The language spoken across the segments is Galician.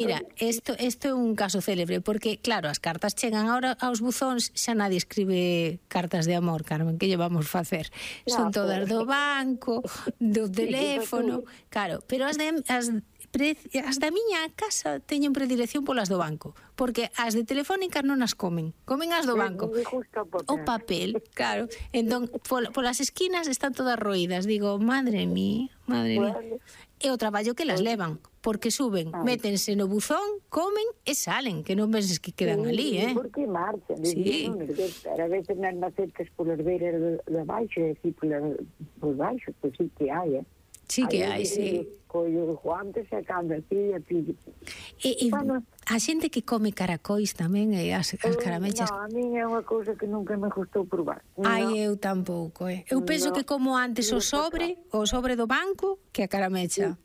Mira, isto é un caso célebre, porque, claro, as cartas chegan ahora aos buzóns, xa nadie escribe cartas de amor, Carmen, que lle vamos facer? Son todas do banco, do teléfono, claro, pero as da miña casa teñen predilección polas do banco, porque as de Telefónica non as comen as do banco. O papel, claro. Entón, polas esquinas están todas roídas. Digo, madre mía. E o traballo que las levan, porque suben, métense no buzón, comen e salen, que non penses que quedan ali, Porque marchan, a veces nas macetas polas beiras de baixo, e así por baixo, pois sí que hai, Sí que hai, sí. Collo guantes e cando así, E a xente que come caracois tamén, e as caramechas. Non, a mí é unha cousa que nunca me gustou probar. Ai, eu tampouco, Eu penso que como antes o sobre do banco, que a caramecha.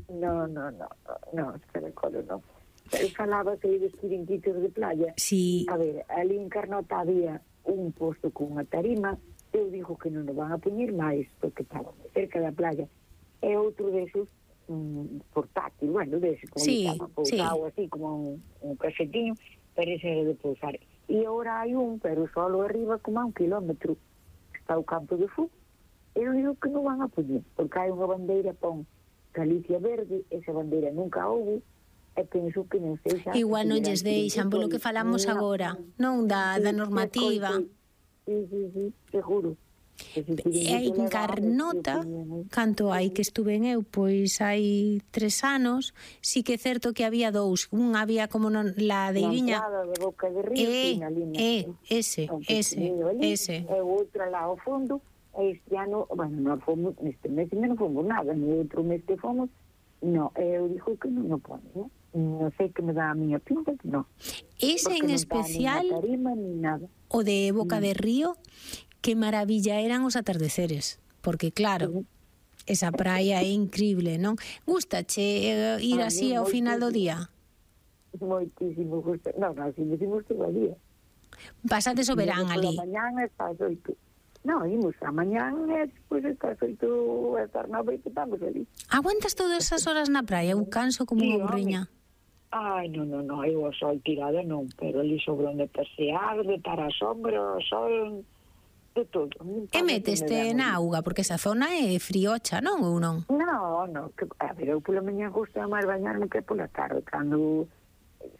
Non, caracoles non. Eu falaba que hai dos chiringuitos de playa. Sí. A ver, ali en Carnota había un posto con unha tarima, eu digo que non o van a poñer máis, porque estaba cerca da playa. E outro desos portátil, bueno, deses como estaba pousado así como un casetinho, pero ese era de pousar. E agora hai un, pero solo arriba como a 1 kilómetro está o campo de fútbol. Eu digo que non van a poñer, porque hai unha bandeira pon Galicia Verde, esa bandeira nunca houve, e penso que non sei xa... Igual non lles deixan, polo que falamos agora, non da normativa. Sí, seguro. E hai en Carnota, canto hai que estuve en eu, pois hai 3 anos, sí que é certo que había 2, un había como la deiriña de Boca de Río, ese e outra lá ao fondo, e este ano, bueno, non fomos, neste mes non fomos nada, no outro mes que fomos, eu dixo que non o pone, non sei que me dá a miña pinta, que non. Ese en especial, o de Boca de Río, que maravilla eran os atardeceres, porque claro, esa praia é increíble, non? Gústache ir así ao final do día? Moitísimo, non, así decimos todo o día. Pasades o verán ali. Por la mañana está as 8. Non, imos a mañana e despois está as 8 hasta as 9 que estamos ali. Aguantas todas esas horas na praia? Eu canso como unha burriña. Ai, non, eu o sol tirada non, pero ali sobre onde pasear, de estar a sombra, o sol... de todo. E meteste na auga, porque esa zona é friocha, non? Ou non? Non, a ver, eu pola mañá gusta máis bañarme que pola tarde, cando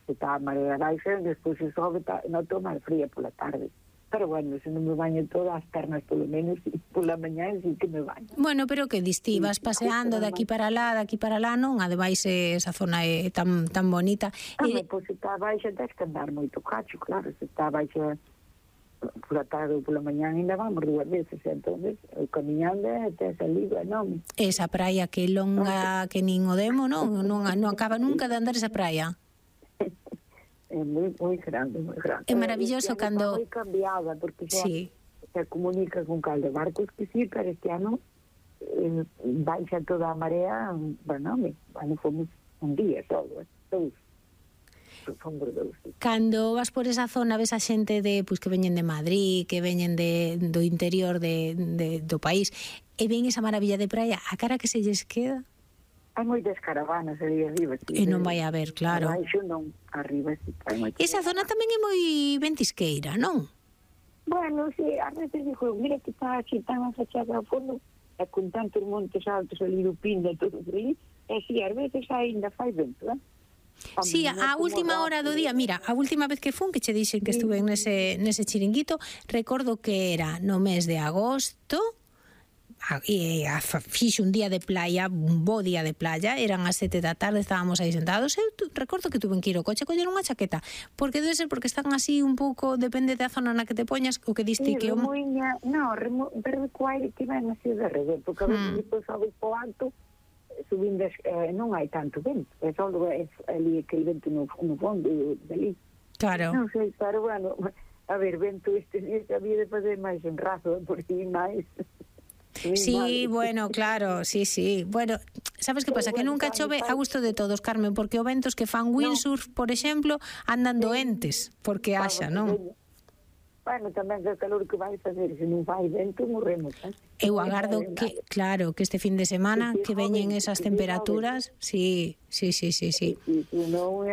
se está a marea baixa, despois se sobe, noto máis fría pola tarde. Pero bueno, se non me baño todas as pernas polo menos, pola mañá sí que me baño. Bueno, pero que diste, vas paseando de aquí para lá, non? Ademais esa zona é tan bonita. Pois se está baixa, tens que andar moito cacho, claro, se está baixa pola tarde ou pola mañá ainda vamos 2 veces, entonces camiñando até salir, non. Esa praia que longa que nin o demo, non acaba nunca de andar esa praia. É moi grande, moi grande. É maravilloso cando... Está moi cambiada, porque se comunica con calde barcos que sí, pero este ano baixa toda a marea, bueno, fomos un día todo, Cando vas por esa zona ves a xente que veñen de Madrid, que veñen do interior do país, e ven esa maravilla de praia, a cara que se lles queda? Hai moitas caravanas ali arriba. E non vai a ver, claro. Baixo non, arriba sí. Esa zona tamén é moi ventisqueira, non? Bueno, sí, a veces digo, mira que está así tan afachada ao fondo, e con tantos montes altos ali do Pindo, todo por ali, e si, a veces ainda fai vento, Sí, a última hora do día, mira, a última vez que fun, que che dixen que estuve nese chiringuito, recordo que era no mes de agosto, e fixe un día de playa, un bo día de playa, eran as 7 da tarde, estábamos aí sentados, eu recordo que tuve que ir ao coche coller unha chaqueta, porque debe ser porque están así un pouco, depende da zona na que te poñas, o que diste que... pero co aire que ven así de revés, porque a veces depois sabes po alto, subindas, non hai tanto vento, é só ali aquele vento no fondo dali. Claro. Non sei, pero bueno, a ver, vento estes días había de fazer máis en razo, por si máis. Sí, bueno, claro, sí. Bueno, sabes que pasa? Que nunca chove a gusto de todos, Carmen, porque o ventos que fan windsurf, por exemplo, andan doentes, porque haxa, non? Bueno, tamén que o calor que vai facer, se non vai vento, morremos, Eu agardo que, claro, que este fin de semana que veñen esas temperaturas, sí. Non